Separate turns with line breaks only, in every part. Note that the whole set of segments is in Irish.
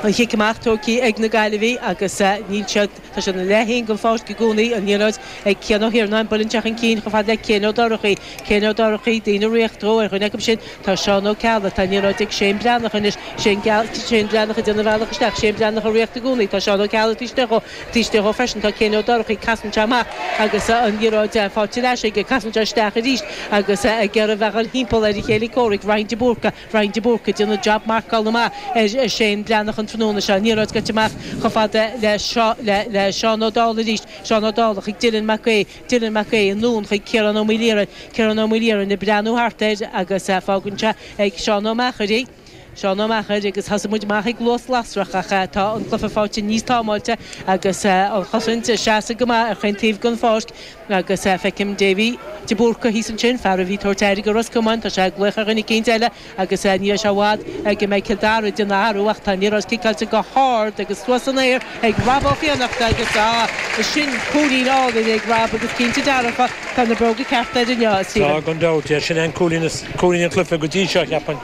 An chic amach tógtha ag na Gaillimhigh agus níl siad, tá siad ina leath féin den pháirc i gcónaí, an liathróid ag Cian Ó hIarnáin, buaileann sé chun cinn chomh fada le Cian Ó Dorchaí, Cian Ó Dorchaí, daoine ag ritheacht dó, ar dhuine acu sin tá Seán Ó Ceallaigh, tá an liathróid ag Shane Breathnach anois, Shane Shane Breathnach ag déanamh a bhealach isteach, Shane Breathnach ag ritheacht i gcónaí, tá Seán Ó Ceallaigh taobh istigh dhó, taobh istigh dhó freisin tá Cian Ó Dorchaí, casann sé amach agus an liathróid faighte ar ais aige, casann sé isteach arís agus ag iarraidh a bheith ag dul thimpeall ar a chéile comhraic, Ryan de Búrca. Ryan de Búrca ag déanamh jab marcála maith ar Shane Breathnach an tráthnóna seo. An liathróid gaibhte amach chomh fada le le Seán Ó Dálaigh arís. Seán Ó Dálaigh chuig Dylan Mac Aodha. Dylan Mac Aodha anonn chuig Ciarán Ó Maoilaorainn. Ciarán Ó Maoilaorainn ag breathnú thart air agus fágann sé ag Seán Ó Meachair í. Seán Ó Meachair agus thosaigh muid amach ag luas lasrach ach tá an cluiche faighte níos támáilte agus an chosaint ag seasamh go maith ar chaon taobh den pháirc. Agus feicim Davy de Búrca thíos ansin, fear a bhí ag tabhairt aire do Ros Comáin, tá sé ag glaoch ar dhuine eicínt eile agus ní raibh sé i bhfad go mbeidh Cill Dara ag déanamh athrú ach tá an liathróid ciceáilte go hard agus suas san aer ag Rob Ó Fiannachta agus ah, sin cúilín álainn ag Rob agus cinnte dearfa tá na bróga cearta air inniu, a Stephen.
Tá, gan dabht, sin é an cúilín is, cúilín an chluiche go dtí seo, cheapfainn.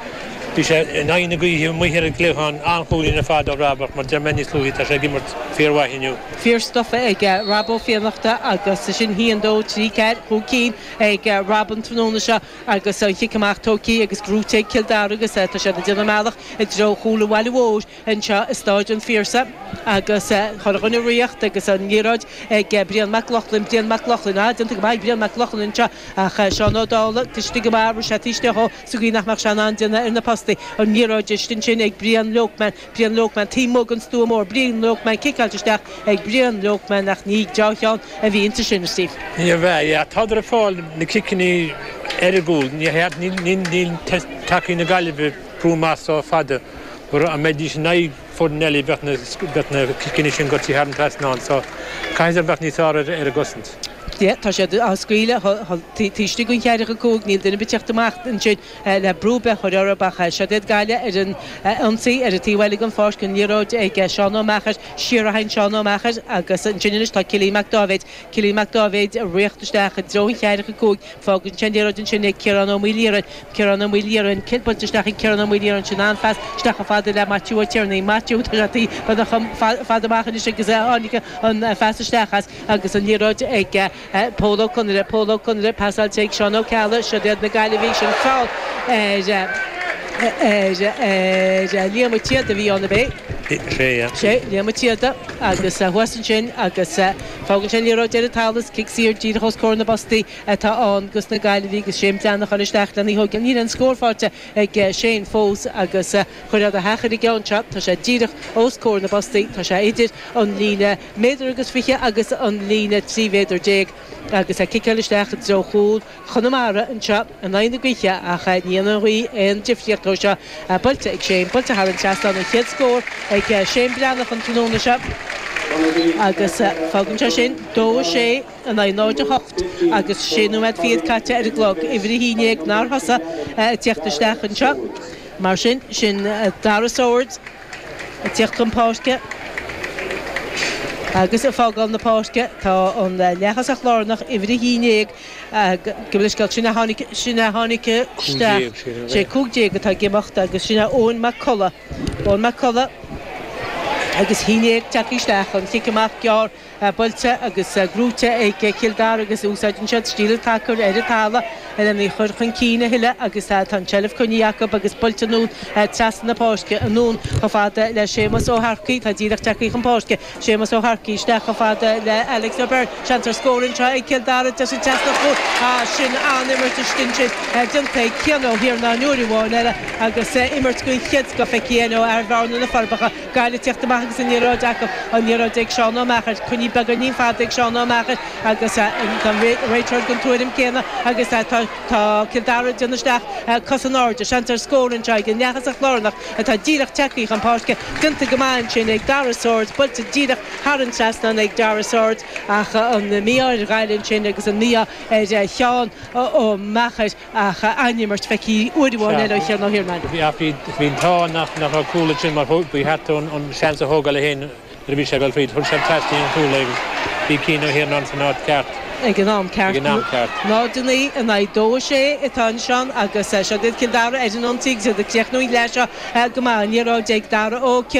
Bhí sé in aghaidh na gaoithe amuigh ar an gcliathán, an-chúilín ar fad ó Rob ach mar deir mé níos luaithe tá sé ag imirt fíormhaith inniu.
Fear stufa ag Rob Ó Fiannachta agus sin 1, 2, 3, 4, 5 cinn ag Rob an tráthnóna seo agus an chic amach tógtha agus gnóite ag Cill Dara agus tá siad ag déanamh a mbealach i dtreo chúl an bhaile mhóir anseo i Stáid an Phiarsaigh agus chuile dhuine ag ritheacht agus an liathróid ag Brian Mac Lochlainn, Brian Mac Lochlainn, ah déanta go maith ag Brian Mac Lochlainn anseo ach Seán Ó Dálaigh istigh go maith, rith sé taobh istigh dhó sa gcaoi nach mbeadh sé in ann déanamh ar na postaí. An liathróid istigh ansin ag Brian Lokeman. Brian Lokeman taobh amuigh den stua mór. Brian Lokeman ciceáilte isteach ag Brian Lokeman ach ní deá-cheann a bhí inti sin, a Steve.
Níorbh ea, yeah. Tádar ag fáil na ciceanna ar an gcúl. Níl tacaí na Gaillimhe ag brú amach so fada mar dá mbeidís in aghaidh foireann eile bheadh na ciceanna sin goite thar an trasnán so caithfidh siad bheith níos fearr ar an gcosaint.
Yeah, tá siad á scaoileadh taobh istigh den cheathracha 5, níl duine ar bith ag teacht amach ansin. le brú ar bith a chur orthu ach siod iad Gaillimh ar an ionsaí ar an taobh eile den pháirc, an liathróid ag Seán Ó Meachair, siar a théann Seán Ó Meachair agus ansin anois tá Cillian Mac Dáibhéid, Cillian Mac Dáibhéid ag ritheacht isteach i dtreo an cheathracha 5, fágann sé an liathróid ansin ag Ciarán Ó Maoilaorainn, Ciarán Ó Maoilaorainn, buailte isteach ag Ciarán Ó Maoilaorainn, sin an-phas isteach chomh fada le Maitiú Ó Tiarnaigh, Maitiú, tá sé beagnach chomh fada amach anois agus a tháinig an phas isteach as agus an liathróid ag. Pól Ó Conaire, Pól Ó Conaire, pasáilte ag Seán Ó Ceallaigh, siod iad na Gaillimhigh, sin feall ar ar Liam Ó Téada a bhí ann, ab é?
Sé, yeah.
Sé, Liam Ó Téada agus thuas ansin agus fágann sé an liathróid ar an talamh is cic saor díreach os comhair na bpostaí atá ann dos na Gaillimhigh agus Shane Breathnach ag dul isteach lena thógáil. Níl aon scór faighte ag Shane fós agus chuir a theach ar an gceann seo, tá sé díreach os comhair na bpostaí, tá sé idir an líne méadar agus 20 agus an líne 13 mhéadar agus é ciceáil isteach i dtreo chúl Chonamara anseo in aghaidh na gaoithe ach ní dhéanann an ghaoth aon difríocht ó seo. Buailte ag Shane, buailte thar an trasnán, an chéad scór ag Shane Breathnach an tráthnóna seo agus fágann sé sin 2, 6 in aghaidh 0, 8 agus sé nóiméad fichead caite ar an gclog. Uimhir 11 nár thosaigh ag tíocht isteach anseo. Mar sin, sin Dara Swords. Ag tíocht chun páirce agus ag fágáil na páirce tá an leath-thosach lárnach, uimhir 11, gabh mo leithscéal, sin a tháinig, sin a tháinig isteach, sé 15 atá ag imeacht agus sin é Eoin Mac Colla, Eoin Mac Colla agus 11 tagtha isteach, an chic amach gearr. Buailte agus gnóite ag Cill Dara agus úsáideann siad stíl an tsacair ar an talamh lena chur chun cinn a thuilleadh agus tá an tseilbh coinnithe acu agus buailte anonn trasna na páirce, anonn chomh fada le Séamus Ó hEarcaigh, atá díreach tagtha chun páirce. Séamus Ó hEarcaigh isteach chomh fada le Alex O'Byrne. Seans ar scór anseo ag Cill Dara, deis trasna an chúil. Sin an-imirt istigh ansin déanta ag Cian Ó hIarnáin uair amháin eile agus imirt den chéad scoth feicthe ó fhear Bhearna na Forbacha. Gaillimh ag tíocht amach agus an liathróid acu, an liathróid ag Seán Ó Meachair, coinnithe beagáinín fada ag Seán Ó Meachair agus tá an réiteoir den tuairim céanna agus tá Cill Dara ag déanamh isteach cos in airde. Seans ar scór anseo ag an leath-thosach lárnach atá díreach tagtha chun páirce. Déanta go maith ansin ag Dara Swords, buailte díreach thar an trasnán ag Dara Swords ach an mí-ádh ar Ghaillimh ansin agus an mí-ádh ar Sheán Ó Meachair. Ach an-imirt feicthe uair amháin eile ó Chian Ó hIarnáin.
Bhí bhí an t-ádh nach nach raibh cúl ansin mar ba cheart dó an seans a thógáil é féin nuair a bhí sé ag dul fríd. Chuir sé trasna an chúl é agus bhí Cian Ó hIarnáin san áit ceart.
Ag an am ceart.
Ag an am ceart.
0-9 in aghaidh 2-6 atá ansin agus seo iad Cill Dara ar an ionsaí agus iad ag críochnú an leath seo go maith. An liathróid ag Dara Ó Ciarúin.